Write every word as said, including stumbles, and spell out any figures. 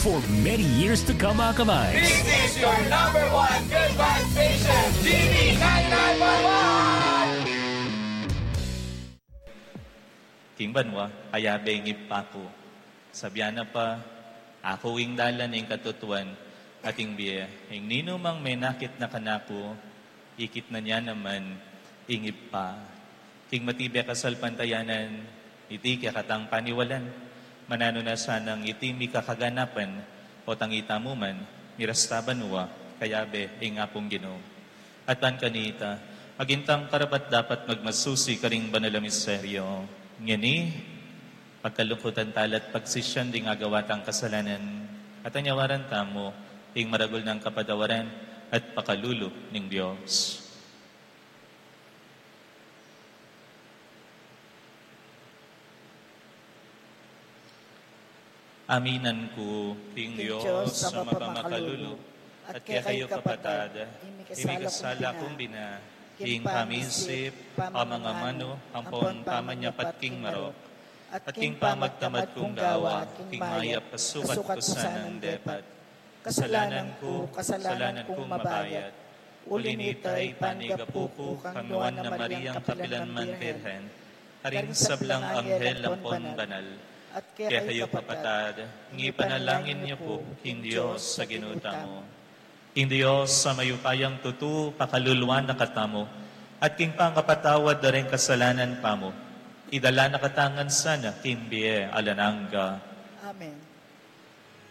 For many years to come, Akabay. This is your number one good vibe station, G B ninety-nine point one. King banua, kayabe ing Ibpa ku. Sabian na pa, aku ing dalan, ing katutuan, at ing bie. Ing ninumang menakit na kanaku, ikit na nia naman ing Ibpa. King matibe kasalpantayanan, iti kekatang paniwalan. Mananu na sanang iti mikakaganapan, o tangitamu man, mirasta banua, kayabe ing Apung Ginu. At ban kanita, maging tang karapat-dapat magmasusi karing banal a misteryo. Ngeni, pagkalungkutan tala at pagsisian ding agawa tang kasalanan, at anyawaran tamu ing maragul nang kapatawaran at pakalulu ning Dios. Aminan ku king Dios a mapamakalulu, at kekayu kapatad, ing mikasala kung bina, king pamisip, pamangamanu, ampon pamanyapat king marok, at king pamagtamad kung gawa, king mayap a sukat ku sanang depat. Kasalanan ku, kasalanan kung mabayat. Uli nita, ipanigapu ku kang Nuan a Mariang kapilan man Birhen, karing sablang anghel ampon banal, at kekayu kapatad, ing ipanalangin yu pu king Dios a Ginu tamu. Ing Dios a mayupayang tutu pakaluluan na katamu, at king pangapatawad da ring kasalanan tamu, idala na katamu ngan sana king bie alang angga. Amen.